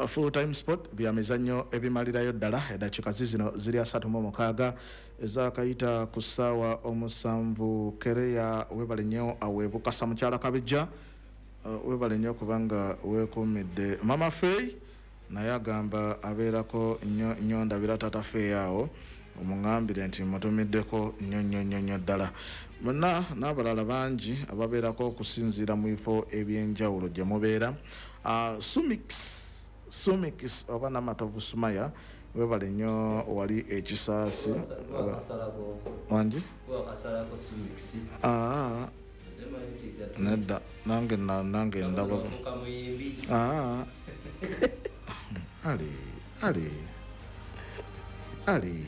Full time sport, bya mizannyo ebimalirayo ddala. Eddakiika zizino ziri 36 ezakayita ku ssaawa 7. Kereya, webale nnyo aweebukasa. Mukyala Kabijja, webale nnyo kubanga weekuumidde. Mama Fey naye agamba abeerako nnyo nnyo. Ndabira Tata Fey awo, omuŋambire nti mutumiddeko nnyo nnyo nnyo nnyo ddala. Mwenna n'abalala bangi ababeerako okusinziira mu bifo ebyenjawulo gye mubeera. Sumix oba Namatovu Sumaya, webale nnyo wali ekisaasi wangi. Ah, nedda, nange nange ndaba. Ah, ali ali ali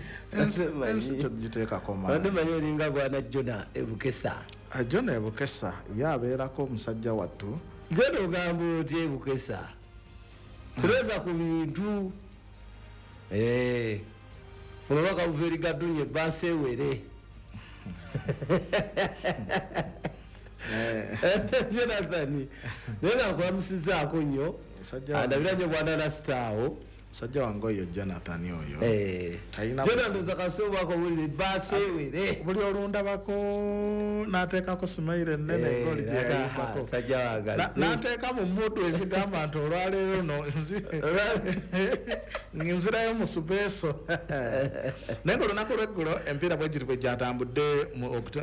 ensi togiteekako. Manyi manyi olinga bwana Jona Ebukesa. Ah, Jona Ebukesa ye abeerako omusajja wattu. Jona, ogamba otya Ebukesa? Kulowooza ku bintu. Eh, olwabaka buva eri Gadunya, ebbaasa ewere. Jonathan, naye nga nkulamusizaako nnyo. Musajja wange. Andabira nnyo bwana Rasita awo. Musajja wange oyo Jonathan oyo. Eh. Talina Jona, buzibu. ndowooza kasoobaako owulira ebbaasa ewere. Buli olundabako n'ateekako smile ennene. Eh, egoli gye yayimbako. Musajja wange azze. N'ateeka mu mood ezigamba nti olwaleero no nzirayo mu supeeso. Naye nga olunaku lweggulo empiira bwe giri bwe gyatambudde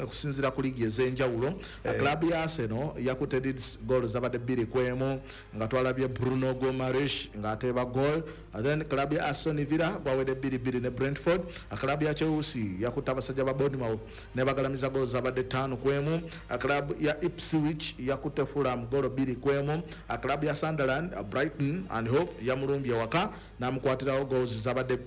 okusinziira ku liigi ez'enjawulo, club ya Arsenal yakutte Leeds goal zabadde 2-1, nga twalabye Bruno Guimaraes ng'ateeba goal. Then club ya Aston Villa gwawedde 2-2 ne Brentford. Club ya Chelsea yakutte abasajja ba Bournemouth ne bagalamiza goal zabadde 5-1. Club ya Ipswich yakutte Fulham goal 2-1. Club ya Sunderland, Brighton and Hove yamulumbye waka n'amukwatirawo goals zabadde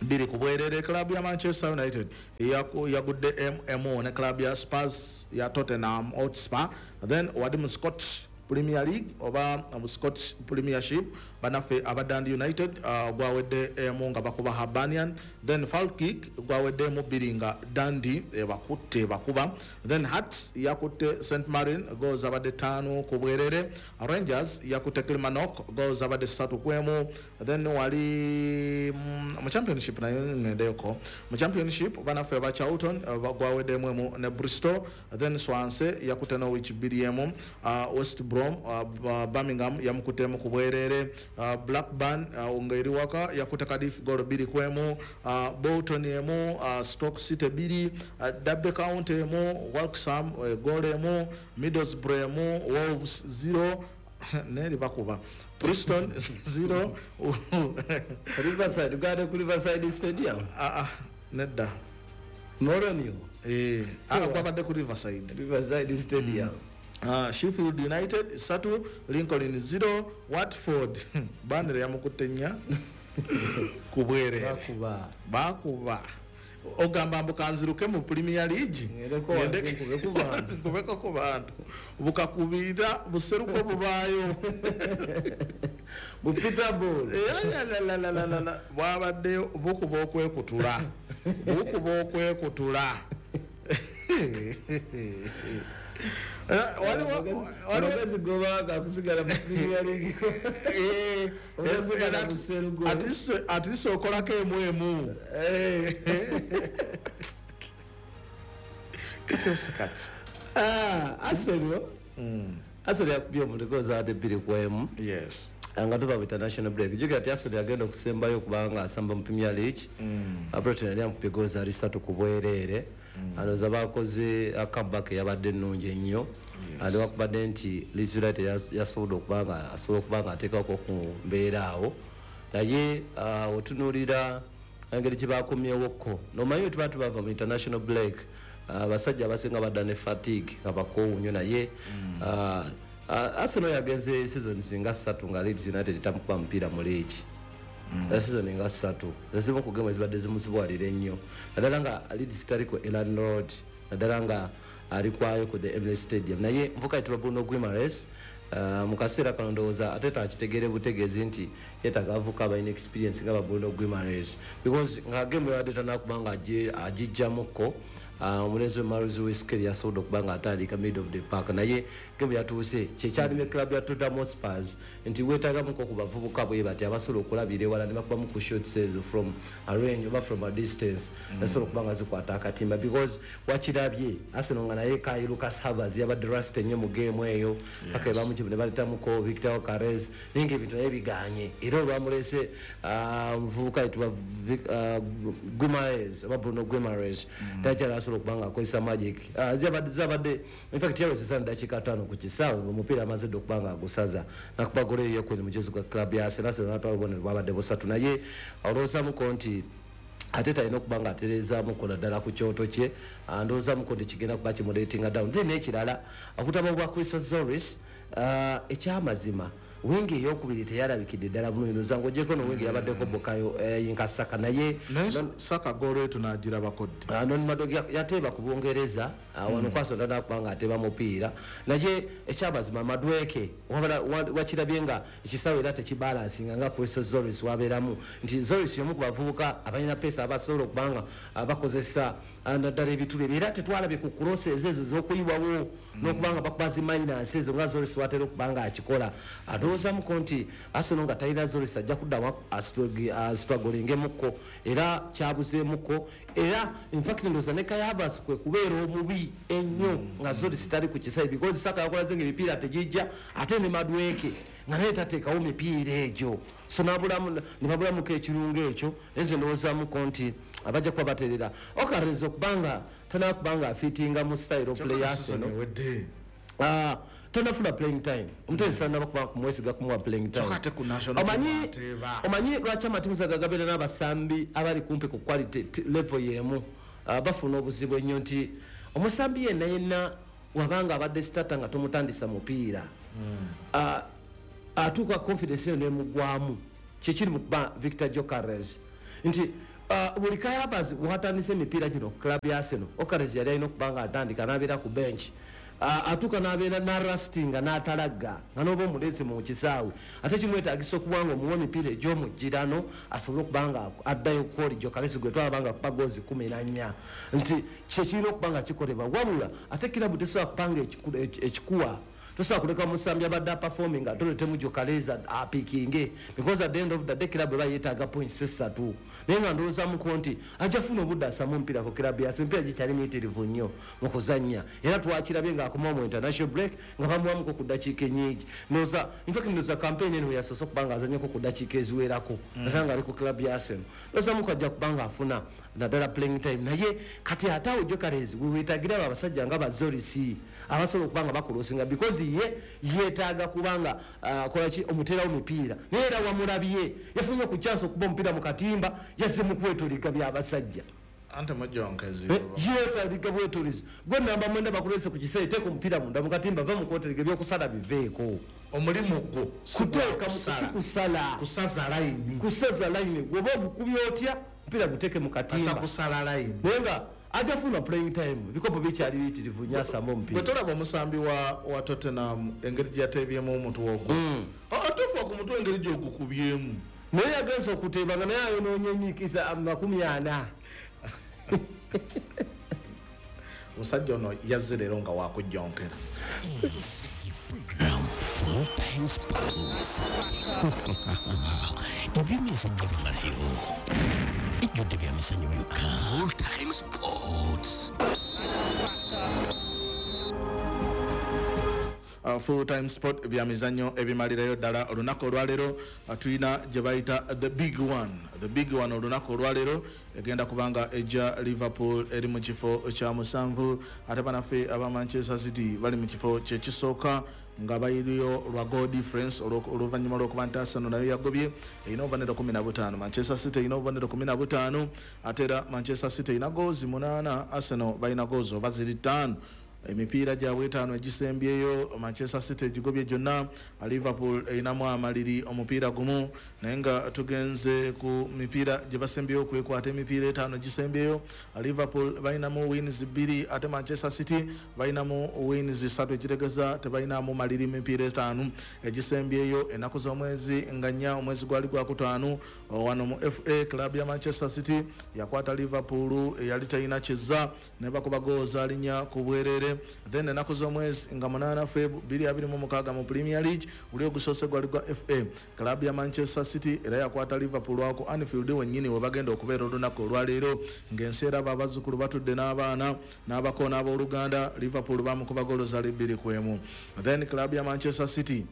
2 ku bwerere. Club ya Manchester United yagudde mmo ne club ya Spurs ya Tottenham Hotspur. Then wadi mu Scottish Premier League oba mu Scottish Premiership, banaffe aba Dundee United gwawedde emu nga bakuba Hibernian. Then Falkirk gwawedde emu bbiri nga Dundee ebakutte bakuba. Then Hearts yakutte St Mirren, goals abadde 5 ku bwerere. Rangers yakutte Kilmarnock, goals abadde 3-1. Then wali mu Championship, nayo ngendeyoko mu Championship, banaffe aba Charlton gwaweddemu emu ne Bristol. Then Swansea yakutte Norwich 2-1. West Brom, Birmingham yamukuttemu ku bwerere. Blackburn ng'eri waka yakutte Cardiff goal 2-1. Bolton emu, Stoke City 2, Derby County emu, Wrexham goal emu, Middlesbrough emu, Wolves 0 neri bakuba Preston 0. Riverside, uganda ku Riverside Stadium. Ah, ah, nedda. Moronio. Eh, ah, gwabadde ku Riverside. Riverside Stadium. Sheffield United 3, Lincoln 0. Watford, Burnley yamukutte 4 ku bwerere. Bakuba. Bakuba. Ogamba mbu kanziruke mu Premier League. Ngendeko wansi nkube ku bantu. Nkubeko ku bantu, bukakubira buseruko bubaayo. Bu Peter Ball. Eyalalalala, bwabadde bukuba okwekutula, bukuba okwekutula. Eh, waliwo Amagezi gobaga kusigala mu Premier League. Eh, Osigala eh, buserugo. At least okolako emu emu. Kati osekaki? Ah, Arsenal. Arsenal yakubye omuntu zaadde 2-1. Nga tuva mu international break, jjukira nti Arsenal yagenda okusembayo okubanga asamba mu Premier League, Brighton yali amukubye goals ali 3 ku bwereere. Alowooza bakoze comeback eyabadde ennungi ennyo, newakubadde nti Leeds United yasobodde okuba nga asobola okuba nga ateekako ku mbeera awo. Naye otunuulira engeri gye bakomyewokko, nomanyi tuba tubava mu international break, abasajja abasinga badda ne fatigue nga bakoowu nnyo. Naye Arsenal yagenze season singa 3 nga Leeds United tamukuba mupiira mu league. Season nga 3 ezimu ku game ezibadde zimusibwalira ennyo, naddala nga Leeds tali ku Elland Road, naddala nga ali kwayo ku the Emirates Stadium. Naye nvuka yitibwa Bruno Guimaraes, mu kaseera kano ndowooza ate takitegeere butegeezi nti yeetaaga avuka abalina experience nga ba Bruno Guimaraes, because nga game yabadde tanakuba nga agijjamukko. Omulenzi we Myles Lewis-Skelly yasobodde okuba nga atandika mid of the park, naye game yatuuse kyekyalime club ya Tottenham Hotspur nti weetagamuko ku bavubuka bwe bati abasobola okulabira ewala ne bakubamu ku shots ezo from a range oba from a distance, nasobola okuba nga zikwata akatimba, because wakirabye Arsenal nga naye Kai Lucas Havertz yabadde rusty nnyo mu game eyo, paka ebamukibu ne baletamuko Victor Gyökeres, naye nga ebintu naye biganye. Era olwamulese omuvubuka ayitibwa Guimaraes oba Bruno Guimaraes, takyali asobola okuba nga akozesa magic. Zabadde in fact yawezesa dakiika 5 ku kisaawe nga omupiira amaze dde okuba nga agusaza, nakuba golo eyo yokweni mujozi gwa club ya Arsenal. Arsenal natwala obubonero bwabadde busatu, naye olowoozamuko nti ate talina okuba nga atereezaamuko naddala ku kyoto kye. Ndowoozamuko nti kigenda kuba kimuletinga down. Then n'ekirala, obutaba bwa Christos Tzolis, ekyamazima wingi eyokubiri teyalabikidde ddala bulungi. Ndowooza ng'ogyeko no wingi yabaddeko Bukayo Nkasaka, naye Naye Saka goolo eyo tunagirabako ddi? Noni Madueke yateeba ku Bungereza wano kwasonda nakuba nga ateeba mupiira, naye ekyamazima Madueke wakirabye nga ekisaawe era tekibalansinga nga Christos Tzolis wabeeramu, nti Tzolis y'omu ku bavubuka abalina pace abasobola okuba nga bakozesa naddala ebituli ebyo, era tetwalabye ku crosses ezo ez'okuyiwawo n'okuba nga bakuba zi minus ezo nga Tzolis watera okuba nga akikola. Ndowoozamuko nti Arsenal nga talina Tzolis ajja kuddamu astrugglingemuko, era kyabuzeemuko. Era infact ndowooza ne Kai Havertz kwe kubeera omubi ennyo nga Tzolis tali ku kisaawe, because Saka yakolaze nga emipiira tegijja, ate ne Madueke nga naye tateekawo mipiira egyo, so ne babulamuko ekirungo ekyo. Naye nze ndowoozamuko nti abajja kuba baterera Gyökeres okubanga tanakuba nga afitinga mu style of play Season Arsenal. ewedde. Tanafuna playing time, omutendesi tanaba kuba kumwesiga kumuwa playing time. Kyokka ate ku national team Omanyi ateeba. Omanyi lwaki amatimu zagagabeera n'abasambi abali kumpi ku quality level y'emu, bafuna obuzibu ennyo, nti omusambi yenna yenna wabanga abadde starter nga tomutandisa mupiira, atuuka confidence eyo nemugwamu. Kyekiri mukuba Victor Gyökeres nti buli Kai Havertz watandise emipiira gino ku club ya Arsenal, Gyökeres yali alina okuba nga atandika n'abeera ku bench. Atuuka n'abeera narastinga n'atalagga nga n'oba omuleese mu kisaawe, ate kimwetagisa okuba nga omuwa emipiira egy'omugirano asobole okuba nga addayo kwoli Gyökeres gwe twalaba nga kuba goozi 14, nti kyekirina okuba nga kikolebwa. Wabula ate kirabu tesobola kuba nga ekikuwa, tosobola kuleka musambi abadde aperforming ate oletemu Gyökeres apikinge, because at the end of the day club eba yeetaaga points esatu. Naye nga ndowoozamuko nti ajja funa obudde asamu omupiira ku club yase, emipiira gikyali miyitirivu nnyo mu kuzannya, era twakirabye ng'akomawo mu international break nga bamuwamuko ku ddakiika ennyingi. Ndowooza infact ndowooza campaign eno yasoose okuba nga azannyako ku ddakiika eziwerako ate nga ali ku club ya Arsenal. Ndowoozamuko ajja kuba nga afuna naddala playing time, naye kati ate awo Gyökeres weweetagira abo abasajja nga ba Tzolis abasobola okuba nga bakulosinga, because ye yeetaaga kubanga kolaki omuteerawo mipiira. Naye era wamulabye yafunye ku chance okuba omupiira mu katimba, yazze mu kwetoliga byabasajja. Ante mujonkezi. Yeetaliga bwetolizi gwe namba 9 bakulese ku kiseera, teeka omupiira munda mu katimba, va mu kwoteriga, ebyokusala biveeko. Omulimu gwo si kuteeka gwa kusala. Si kusala. Kusaza layini. Kusaza layini, gwoba ogukubye otya omupiira guteeke mu asa katimba. Kusala layini. Naye nga ajja funa playing time, ebikopo bikyali biyitirivu nnyo, asamba Gwe omupiira. Tolaba omusambi wa Tottenham engeri gye yateebyemu omutwe ogwo? Atuufa ku mutwe engeri gyogukubyemu. Naye yagenza okuteeba nga naye ayonoonye emikisa 40. Omusajja ono yazze leero nga wakujjonkera. Program Full Time Sports. Ebyemizannyo bimalayo ejjudde bya mizannyo byokka. Full Time Sports. Full Time Sport, bya mizannyo ebimalirayo ddala. Olunaku olwaleero tulina gye bayita the big one, the big one. Olunaku olwaleero egenda kubanga ejja Liverpool eri mu kifo kya musanvu, ate banaffe aba Manchester City bali mu kifo kyekisooka nga bayiriyo lwa goal difference, oluvannyuma lw'okuba nti Arsenal nayo yagobye, erina obubonero 15, Manchester City erina obubonero 15, ate era Manchester City erina goozi 8, Arsenal balina goozi oba ziri 5. Emipiira gyabwe etaano egisembyeyo Manchester City egigobye gyonna, Liverpool erinamu amaliri omupiira gumu. Naye nga tugenze ku mipiira gye basembyeyo okwekwata, emipiira etaano egisembyeyo Liverpool balinamu wins 2, ate Manchester City balinamu wins 3, ekitegeeza tebalinamu maliri mipiira etaano egisembyeyo. Ennaku z'omwezi nga 4 omwezi gwali gwakutaano, wano mu FA club ya Manchester City yakwata Liverpool eyali talina kizza ne bakuba goal zaalinya ku bwerere. Then ennaku z'omwezi nga 8 Feb 2026 mu Premier League uli ogusoose gwali gwa FA, club ya Manchester City era yakwata Liverpool wako Anfield wennyini we bagenda okubeera olunaku olwaleero ng'ensi eraba abazzukulu batudde n'abaana n'abako n'abooluganda. Liverpool bamukuba goolo zaali 2-1. Then club ya Manchester City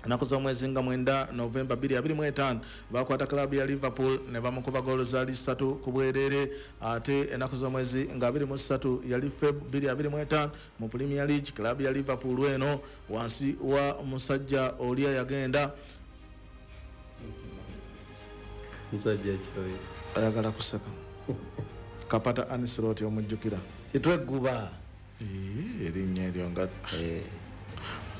ennaku z'omwezi nga 9 Novemba 2025 bakwata club ya Liverpool ne bamukuba goolo zaali 3 ku bwerere. Ate ennaku z'omwezi nga 23 yali Feb 2025 mu Premier League club ya Liverpool eno wansi wa musajja oli yagenda musajja kyoyo ayagala kuseka Kapata Ancelotti omujjukira kitweguba erinnya eryo nga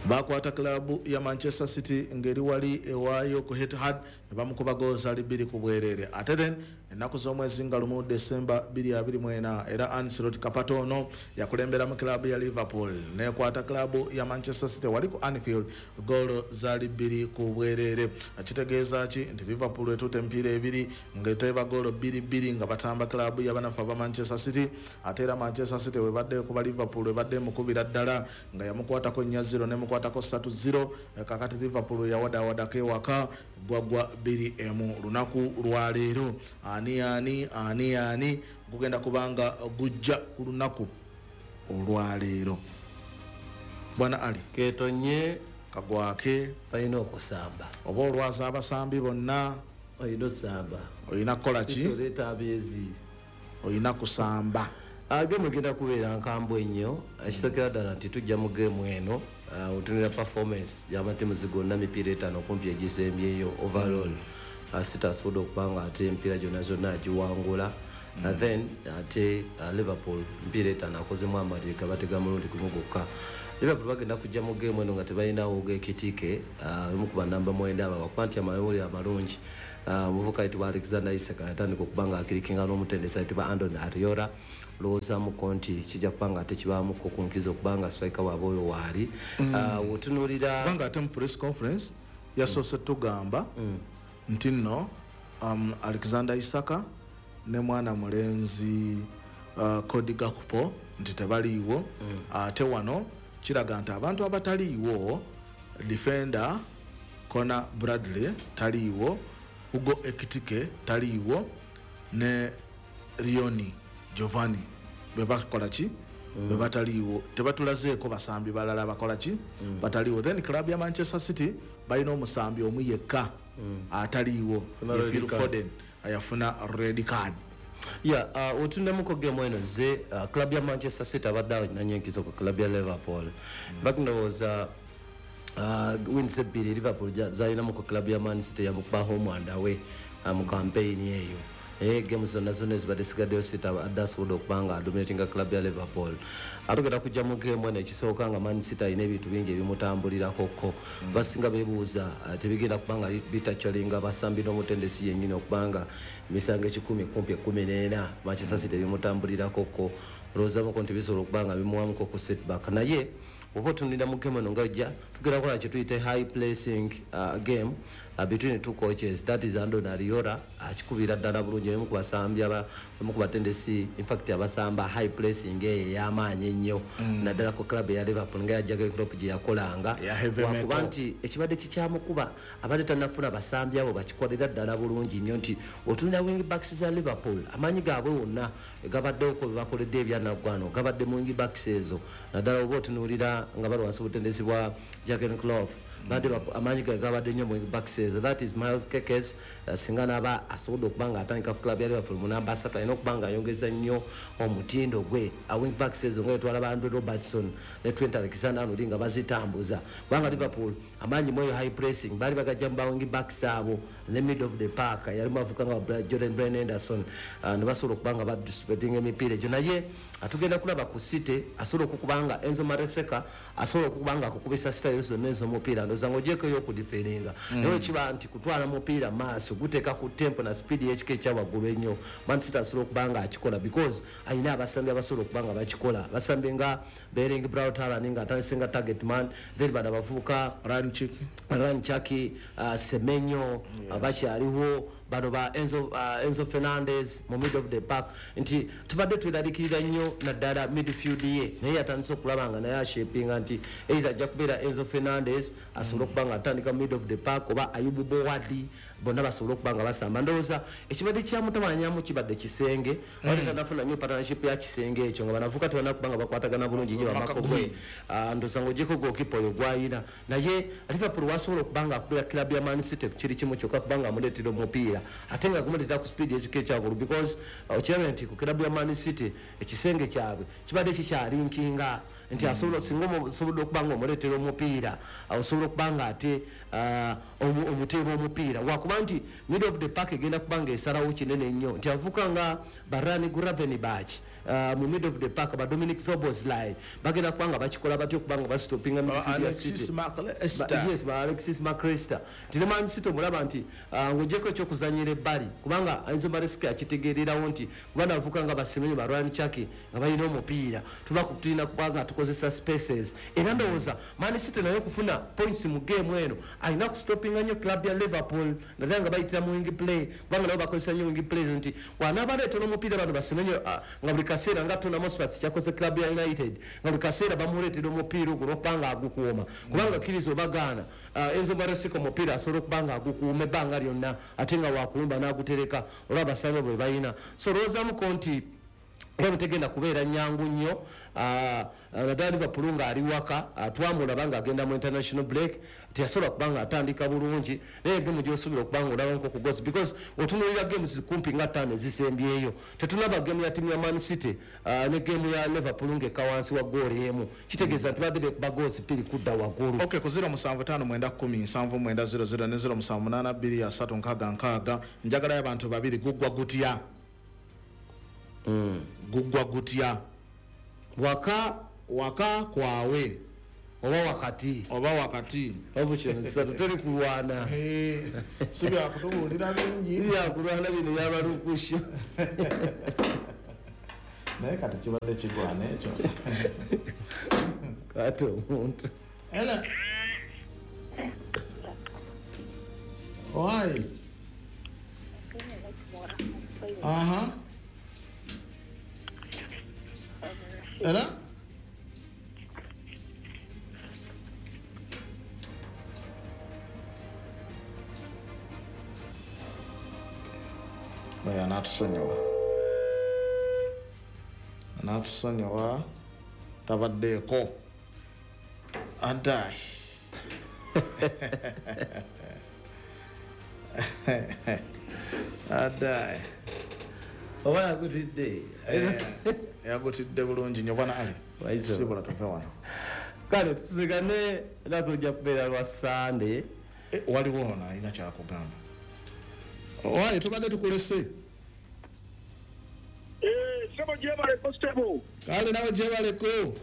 bakwata klabu ya Manchester City ngeri wali ewaayo ku Etihad ne bamukuba goolo zaali 2 ku bwerere. Ate then ennaku z'omwezi nga 1 December 2024 era Ancelotti Kapata ono yakulemberamu klabu ya Liverpool nekwata klabu ya Manchester City wali ku Anfield goolo zaali 2 ku bwerere. Akitegeeza ki nti Liverpool etutte emipiira ebiri ng'eteeba goolo 2-2 nga batamba klabu y'abanafu aba Manchester City. Ate era Manchester City webadde kuba Liverpool ebadde emukubira ddala nga yamukwatako 4-0 nemukwatako 3-0. Kakati Liverpool yawadaawadako ewaka gwagwa 2-1. Lunaku lwaleero ani ani ani ani gugenda kubanga gujja ku lunaku olwaleero. Bwana Ali ketonye kagwake balina okusamba oba olwaza abasambi bonna olina osamba olina kukola ki oleeta abeezi olina kusamba. Gemu egenda kubeera nkambwe nnyo. Ekisookera ddala nti tujja mu gemu eno otunula performance y'amatiimu gonna emipiira etaano okumpi egisembyeyo overall. City asobodde okuba nga ate emipiira gyonna zonna agiwangula. Then ate Liverpool emipiira etaano akozemu amaliri gabatega mulundi gumu gwokka. Liverpool bagenda kujja mu gemu eno nga tebalinawo Ekitike omu ku banamba 9 abo kuba nti amawulire amalungi omuvubuka ayitibwa Alexander Isak yatandika okuba nga akirikinga n'omutendesi ayitibwa Andoni Areola. Lowoozamuko nti kijja kuba nga ate kibaamuko ku nkizo okubanga striker waabwe oyo waali. Otunuulira kubanga ate mu press conference yasoose tugamba nti nno Alexander Isaka ne mwana mulenzi Cody Gakpo nti tebaliiwo. Ate wano kiraga nti abantu abataliiwo defender Conor Bradley taliiwo, Hugo Ekitike taliiwo ne Rioni Giovanni bebakola ki bebataliiwo, tebatulazeeko basambi balala bakola ki bataliiwo. Then club ya Manchester City balina omusambi omu yekka ataliiwo ye Phil Foden ayafuna red card. Yeah, otundamuko game eno ze club ya Manchester City abadde nanye enkizo ku club ya Liverpool. Bakindowooza wins ebbiri Liverpool zalinamu ku club ya Man City yamukuba home and away mu campaign eyo. Games zonna zonna ezibadde sigaddeyo City abadde asobodde okuba nga adominatinga club ya Liverpool. Atugenda kujja mu game eno ekisooka nga Man City alina ebintu bingi ebimutambulirako. Basinga beebuuza tebigenda kuba nga bitakyalinga abasambi n'omutendesi yennyini okuba nga emisango 10 kumpi 14 Manchester City ebimutambulirako. Olowoozamuko nti bisobola okuba nga bimuwamuko ku setback. Naye oba otunulira mu game eno nga ojja tugenda kukola kye tuyita high placing game between the two coaches, that is Andoni Areola akikubira ddala bulungi omu ku basambi omu ku batendesi in fact abasamba high placing eyo ey'amaanyi ennyo naddala ku club ya Liverpool nga ya Jurgen Klopp gye yakolanga. Wakuba nti ekibadde kikyamukuba abadde tannafuna basambi abo bakikolera ddala bulungi nnyo nti otunulira wing backs za Liverpool amaanyi gaabwe wonna gabaddewo bye bakoledde ebyanaggwano gabadde mu wing backs ezo naddala oba otunuulira nga bali wansi obutendesi bwa Jurgen Klopp. Badde amaanyi ge gabadde nnyo mu boxes. That is Miles Kekes, singa n'aba asobodde okuba nga atandika ku club ya Liverpool mu namba 3, alina okuba nga ayongeza nnyo omutindo gwe. Wing backs ezo nga twalaba Andrew Robertson ne Trent Alexander-Arnold nga bazitambuza, kubanga Liverpool amaanyi mweyo high pressing baali bagajja mu ba wing backs abo ne mid of the park yalimu avuka nga Jordan Brian Henderson, ne basobola okuba nga badisputing emipiira egyo. Naye atugenda kulaba ku City asobola okukubanga Enzo Maresca asobola okukubanga akukubisa style zonna ez'omupiira, ndowooza ng'ogyeko ey'okudifendinga, naye kiba nti kutwala mupiira maaso guteeka ku tempo na speed y'ekika ekya waggulu ennyo. Man City asobola okuba nga akikola because alina abasambi abasobola okuba nga bakikola, basambi nga Erling Braut Haaland nga atandise nga target man, then bano abavubuka Ryan Cherki, Semenyo, bakyaliwo bano ba Enzo Fernandez mu mid of the park, nti tubadde tweraliikirira nnyo naddala midfield ye, naye yatandise okulaba nga naye ashapinga nti either ajja kubeera Enzo Fernandez asobole okuba nga atandika mid of the park oba Ayubu Bowadi, bonna basobole okuba nga basamba. Ndowooza ekibadde kyamutawanyamu kibadde kisenge, wali tanafuna nnyo partnership ya kisenge ekyo nga banavuka tebalina kuba nga bakwatagana bulungi nnyo bamako gwe. Ndowooza ng'ogyeko goalkeeper oyo gw'ayina, naye Liverpool wasobola okuba nga akubira club ya Man City kiri kimu kyokka kubanga amuleetera omupiira ate nga gumuleetera ku speed ekika ekyawaggulu, because okirabe nti ku club ya Man City ekisenge kyabwe kibadde kikyalinkinga nti asobola singa osobodde okuba nga omuleetera omupiira, osobola okuba nga ate omuteeba omupiira, wakuba nti mid of the park egenda kuba nga esalawo kinene nnyo, nti avuka nga Ryan Gravenberch mu mid of the park, ba Dominic Szoboszlai bagenda kuba nga bakikola batya okuba nga bastopinga midfield ya City. Yes, ba Alexis Mac Allister, nti ne Man City omulaba nti ng'ogyeko ekyokuzannyira ebbali, kubanga Enzo Maresca akitegeererawo nti kuba navuka nga basemenyo ba Ryan Cherki nga balina omupiira tuba tulina kuba nga tukozesa spaces. Era ndowooza Man City naye okufuna points mu game eno alina kustopinga nnyo club ya Liverpool, naddala nga bayitira mu wing play, kubanga nabo bakozesa nnyo wing play, nti wanaabaleetera omupiira bano basemenyo nga buli kaseera nga Tottenham Hotspur kyakoze club ya United, nga buli kaseera bamuleetera omupiira ogwo n'okuba nga agukuuma, kubanga kkiriza obagaana Enzo Maresca omupiira asobola okuba nga agukuuma ebbanga lyonna ate nga wakuwumba n'agutereka olw'abasambi bwe balina. So olowoozamuko nti game tegenda kubeera nyangu nnyo, naddala Liverpool ng'ali waka, twamulaba ng'agenda mu international break teyasobola kuba nga atandika bulungi, naye game gy'osuubira okuba nga olaba nko ku goals, because otunuulira games kumpi nga 5 ezisembyeyo tetunaba game ya ttiimu ya Man City ne game ya Liverpool ng'ekka wansi wa goal emu, kitegeeza nti badde beekuba goals 2 kudda waggulu. Okay, ku 0759107900 ne 07823666 njagalayo abantu babiri. Guggwa gutya? Guggwa gutya? Waka waka kwawe oba wakati, oba wakati obukyonsatu teri kulwana, si byakutubuulira bingi, si byakulwana bino byabalukusha, naye kati kibadde kigwana ekyo kati omuntu era oi aha era oyo anatusonyiwa, anatusonyiwa tabaddeeko adai adai oba yagutidde, yagutidde bulungi nnyo bwana Ali, sibula tuve wano. Kale tusigane ennaku lujja kubeera lwa Sande. Waliwo ono alina kyakugamba. Owaye tubadde tukulese. Sebo gyebaleko sebo. Kale nawe gyebaleko.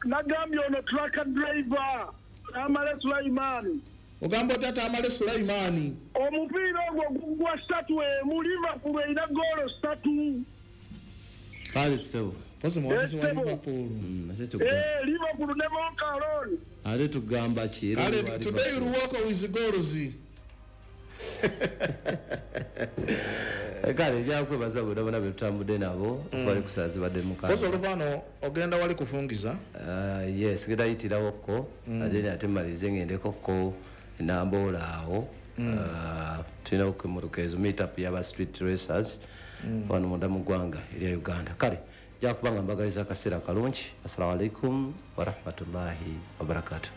Nagambye ono truck driver Amale Sulaiman. Ogamba otya Tamale Sulaimani? Omupiira ogwo gugwa 3 Liverpool erina goolo 3. Kale sebo. Pozi muwagizi wa Liverpool. Liverpool ne Monkalon. Ate tugamba ki? Kale today you walk with goals. Kale nja kwebaza bonna bonna be tutambudde nabo twali kusaazi badde mukaaga. Pozi oluvaano ogenda wali kufungiza? Yes, ngenda yitirawokko ate ate mmalirize ngendekokko Namboola awo. Tulina okwemuruka ezo meet up y'aba street racers wano munda mu ggwanga erya Uganda. Kale nja kuba nga mbagaliza akaseera kalungi. Assalamu alaikum warahmatullahi wabarakatuh.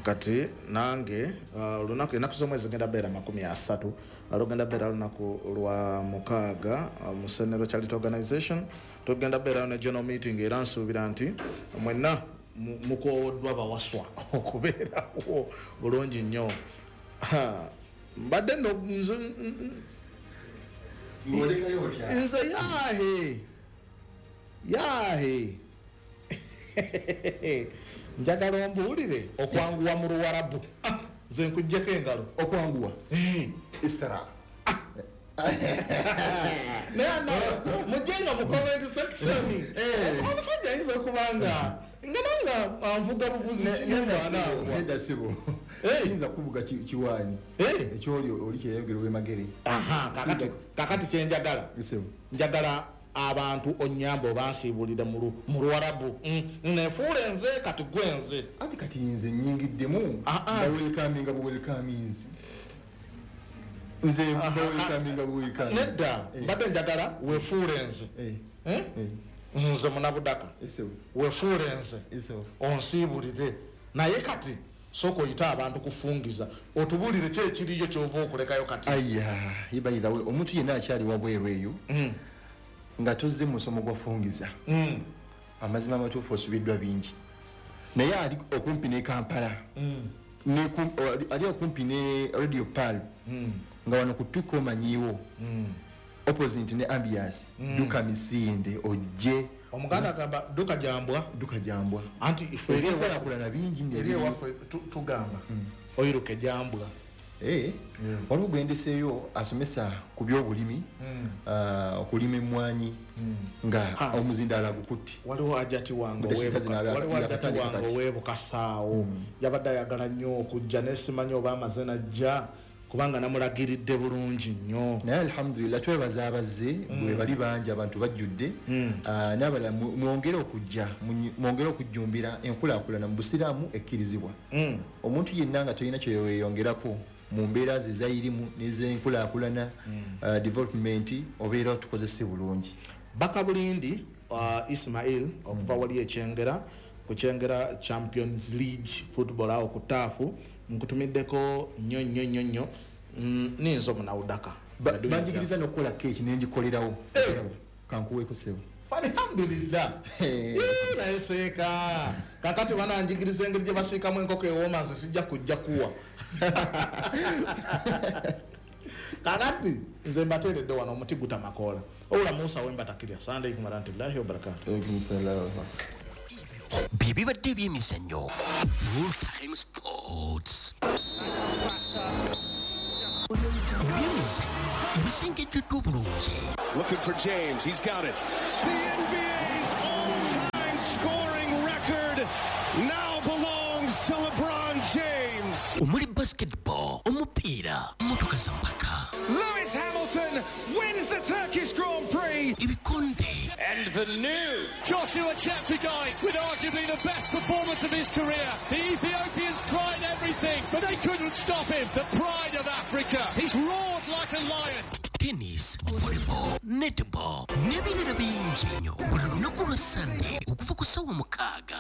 Kati nange olunaku ennaku z'omwezi genda beera 30, lugenda beera lunaku lwa 6 Musenero Charity Organization. Tugenda beerayo ne general meeting, era nsuubira nti mwenna mukowoddwa bawaswa okubeerawo bulungi nnyo. Mbadde nno nze yahe njagala ombuulire okwanguwa mu Luwarabu. Nze nkuggyeko engalo. Okwanguwa Isra. Naye mujje nga mu comment section. Omusajja ayinza okuba nga nga anvuga buvuzi kinyumba. Nedda sibo. Kiyinza kuvuga kiwaani ekyoli oli kyeyayogera ow'emagere. Kakati kyenjagala, njagala abantu onyamba obansiibulire mu Luwarabu. Nefuule nze kati gwe nze. Ati kati nze nnyingiddemu bawelkaminga buwelkaminzi. Nze bawelkaminga buwelkaminzi. Nedda, mbadde njagala wefuule nze. Nze munabudaka. Wefuule nze. Onsiibulire. Naye kati sooka oyite abantu kufungiza otubuulire ki ekiriyo ky'ova okulekayo kati. Aya, by the way, omuntu yenna akyali wabweru eyo nga tozze mu musomo gwa fungiza, amazima amatuufu osubiddwa bingi. Naye ali okumpi ne Kampala, ali okumpi ne Radio Pearl, nga wano ku Tuko omanyiiwo, opposite ne Ambiance, duka misinde ojje. Omuganda agamba duka jambwa. Duka jambwa. Anti ife eri ewaffe bingi eri ewaffe tugamba oyiruke jambwa. Waliwo gwendeseeyo asomesa ku byobulimi, okulima emmwanyi nga omuzindaalo agukutte. Waliwo ajati wange ow'ebukasaawo yabadde ayagala nnyo okujja naye simanyi oba amaze najja kubanga namulagiridde bulungi nnyo. Naye alhamdulillah twebaza abazze bwe bali bangi, abantu bajjudde. N'abalala mwongere okujja, mwongere okujjumbira enkulaakulana mu busiraamu ekkirizibwa. Omuntu yenna nga tolina kyeweeyongerako mu mbeera ze ezayirimu n'ez'enkulaakulana, development, obeera tukozese bulungi. Bakabulindi Ismail okuva wali ekyengera ku Kyengera Champions League football awo ku taafu, nkutumiddeko nnyo nnyo nnyo nnyo. Ninzo munawudaka. Banjigiriza n'okukola keeki nengikolerawo. Kankuweeko ssebo. Alhamdulillah. Naye seeka kakati bananjigiriza engeri gye basiikamu enkoko ewooma, nze sijja kujja kuwa. Kakati nze mbateeredde wano omuti gutamakoola. Owula Musa wembatakirya. Assalamu alaikum warahmatullahi wabarakatuh. Alaikum salaam. Bibadde ebyemizannyo Full Time Sports. Ebyemizannyo ebisengejjuddwa obulungi. Looking for James, he's got it. The NBA's all-time scoring record now belongs to LeBron James. Omuli basketball, omupiira, mmotoka za mpaka. Lewis Hamilton wins the Turkish Grand Prix. Ebikonde. And the new Joshua Cheptegei with arguably the best performance of his career. The Ethiopians tried everything, but they couldn't stop him. The pride of Africa. He's roared like a lion. Tennis, volleyball, netball n'ebirala bingi nnyo buli lunaku lwa Sunday okuva ku ssaawa 6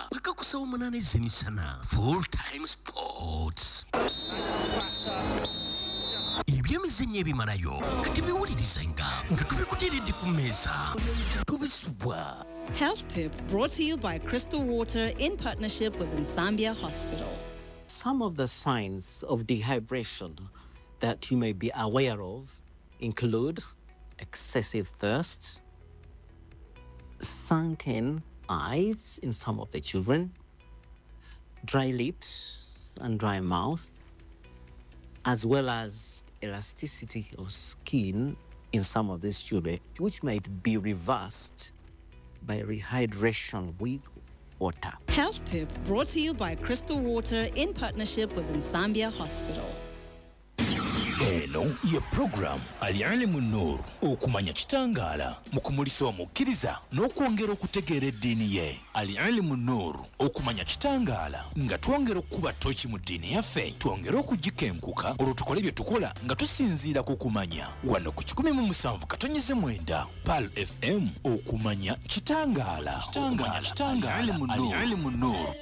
paka ku ssaawa 8 ez'emisana. Full Time Sports. Ebyemizannyo ebimalayo kati biwulirizenga nga tubikuteeredde ku mmeeza tubisubwa. Health tip brought to you by Crystal Water in partnership with Nsambya Hospital. Some of the signs of dehydration that you may be aware of include excessive thirst, sunken eyes in some of the children, dry lips and dry mouth, as well as elasticity of skin in some of these children, which might be reversed by rehydration with water. Health tip brought to you by Crystal Water in partnership with Nsambya Hospital. Eno ye program Al-Ilmu Nur, okumanya kitangaala mu kumulisa omukkiriza n'okwongera okutegeera eddiini ye. Al-Ilmu Nur, okumanya kitangaala nga twongera okukuba ttoki mu ddiini yaffe, twongere okugikenkuka olwo tukole bye tukola nga tusinziira ku kumanya. Wano ku 107.9 Pearl FM, okumanya kitangaala. Al-Ilmu Nur.